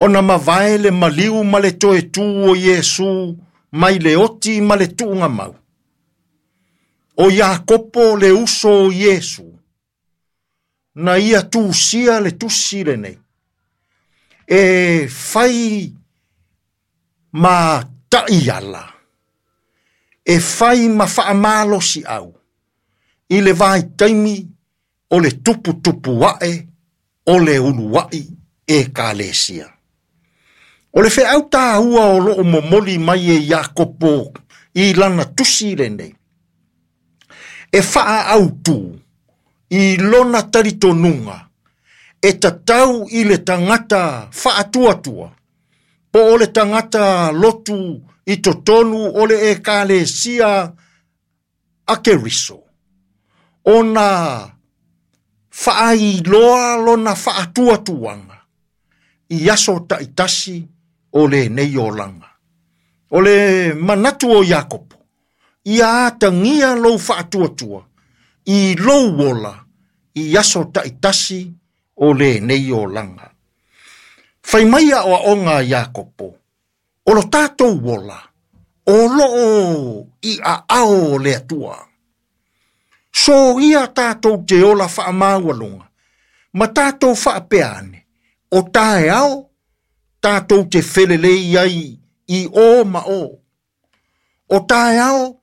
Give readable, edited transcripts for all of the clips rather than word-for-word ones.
Ona mavae le maliu ma le toe tu o Iesu mai le oti ma le tuugamau. O Iakopo le uso o Iesu, na ia tusia le tusi lenei, e fai ma taiala, e fai ma faamalosiau i le vaitaimi o le tuputupu ae o le uluai Ekalesia. O le feau taua o loo momoli mai e Iakopo i lana tusi lenei, e faaautu i lona talitonuga e tatau i le tagata faatuatua, po o le tagata lotu i totonu o le Ekalesia a Keriso, ona faailoa lona faatuatuaga i aso taitasi o lenei olaga. O le manatu o Iakopo, ia atagia lou faatuatua i lou ola i aso taitasi o lenei olaga. Fai mai aoaoga a Iakopo, o lo tatou ola, o loo i aao o le Atua. Soia tatou te ola faamaualuga, ma tatou faapea ane, o taeao tatou te felelei ai i o ma o. O taeao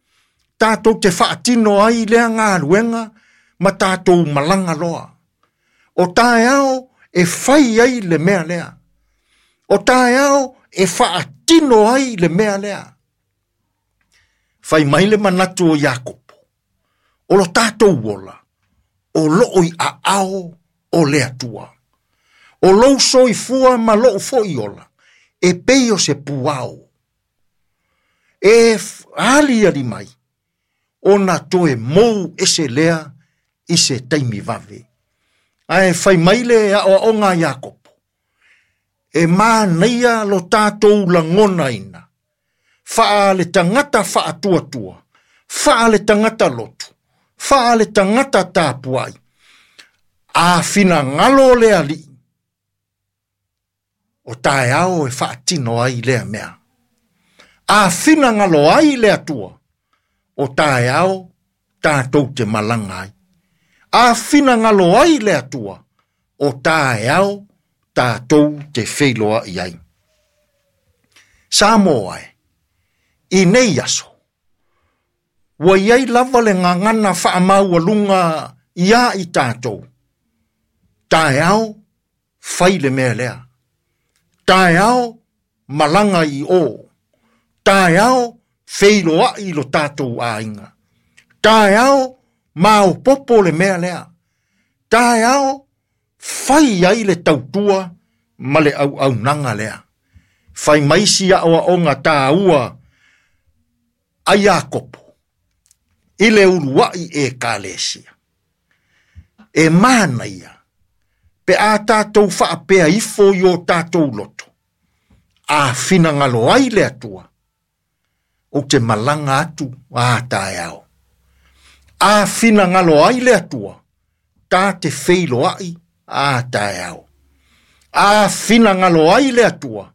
tatou te faatino ai lea galuega ma tatou malaga loa. O taeao e fai ai le mea lea. O taeao e faatino ai le mea lea. Fai mai le manatu o Iakopo, o lo tatou ola, o loo i aao o le Atua. O lou soifua ma lou foi ola, e pei o se puao. E aliali mai, ona toe mou ese lea i se taimi vave. Ae fai mai le aoaoga a Iakopo, e manaia lo tatou lagonaina, faa le tagata faatuatua, faa le tagata lotu, faa le tagata tapuai, a finagalo le Alii, o taeao e faatino ai lea mea. A finagalo ai le Atua, o taeao tatou te malaga ai. A finagalo ai le Atua, o taeao tatou te feiloai ai. Samoa e, i nei aso, ua iai lava le gagana faamaualuga ia i tatou. Taeao, fai le mea lea. Taeao, malaga i o. Taeao, feiloai lo tatou aiga. Taeao, maopopo le mea lea. Taeao, fai ai le tautua ma le auaunaga lea. Fai mai si aoaoga taua a Iakopo i le uluai Ekalesia. E manaia pe a tatou faapea ifo i o tatou loto, a finagalo ai le Atua, ou te malaga atu a taeao. A finagalo ai le Atua, ta te feiloai a taeao. A finagalo ai le Atua,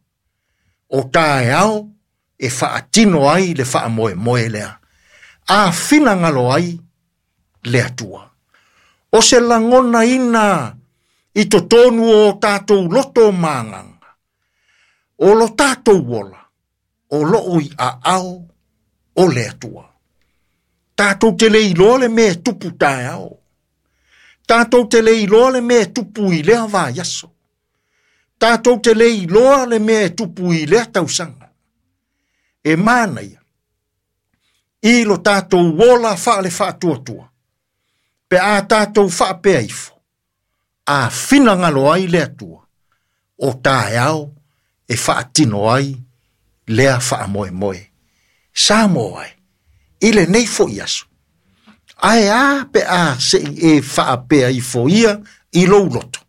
o taeao e faatino ai le faamoemoe lea. A finagalo ai le Atua. O se lagonaina i totonu o tatou loto ma agaga, o lo tatou ola, o loo i aao o le Atua. Tatou te le iloa le mea e tupu taeao. Tatou te le iloa le mea e tupu i lea vaiaso. Tatou te le iloa le mea e tupu i lea tausaga. E manaia i lo tatou ola faale faatuatua, pe a tatou faapea ifo, a finagalo ai le Atua, o taeao e faatino ai lea faamoemoe. Samoa e, i lenei foi aso, ae a pe a sei e faapea ifo ia i lou loto,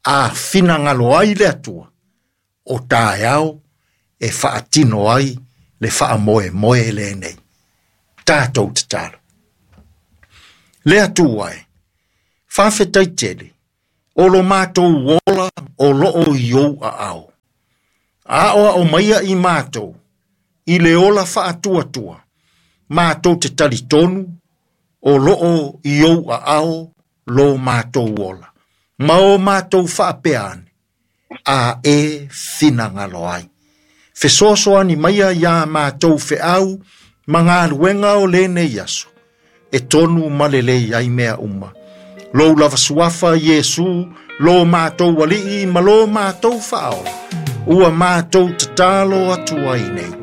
a finagalo ai le Atua, o taeao e faatino ai le faamoemoe lenei. Tatou tatalo. Le Atua e, faafetai tele, o lo matou ola o loo i ou aao. Aoao maia i matou i le ola faatuatua, matou te talitonu o loo i ou aao lo matou ola. Ma o matou faapea ane, a e finagalo ai. Fesoasoani maia iā matou feau ma galuega o lenei aso, e tonu ma lelei ai mea uma. Lou lava suafa Iesu, lo matou alii ma lo matou faaola, ua matou tatalo atu ai nei.